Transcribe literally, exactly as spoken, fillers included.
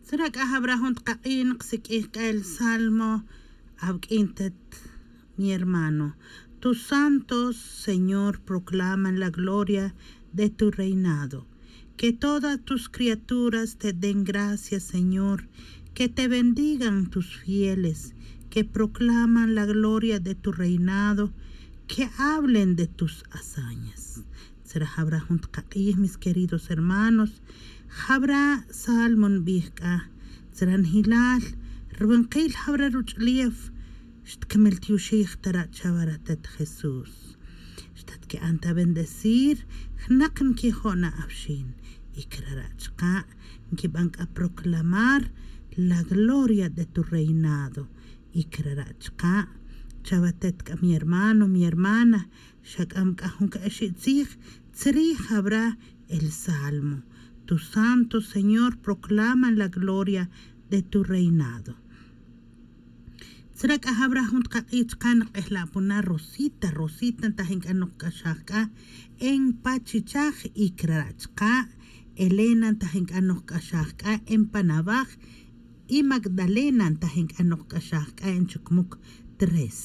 Tzra' c'a jawra jun tkak'in kasiq'uij c'a el salmo. Awuq'uin tet mi hermano. Tus santos, Señor, proclaman la gloria de tu reinado. Que todas tus criaturas te den gracias, Señor. Que te bendigan tus fieles, que proclaman la gloria de tu reinado, que hablen de tus hazañas. Tzra' jawra jun tkak'ij, mis queridos hermanos. Jawra salmo nbij c'a. Tzra' njilal, rwinqil jawra ruch'ulef. Xtquimil tioxij tara' chawara tet Jesús. Xtatqui'an ta bendecir jnaq nquijo' na awxin. Y crara' chka' nquiban c'a proclamar la gloria de tu reinado. Y crara' chka', chawa tet c'a mi hermano, mi hermana, xac'am c'a jun c'a ixi' tzij. Tzri' jawra el salmo. Tus santos, Señor, proclaman la gloria de tu reinado. Tzra' c'a jawra jun tkak'ij chka' nk'ejla' puna Rosita. Rosita ntajin c'a nokc'axaj c'a en pachichaj. Y crara' chka' Elena ntajin c'a nokc'axaj c'a en panawaj. Y Magdalena ntajin c'a nokc'axaj c'a en chucmuc tres.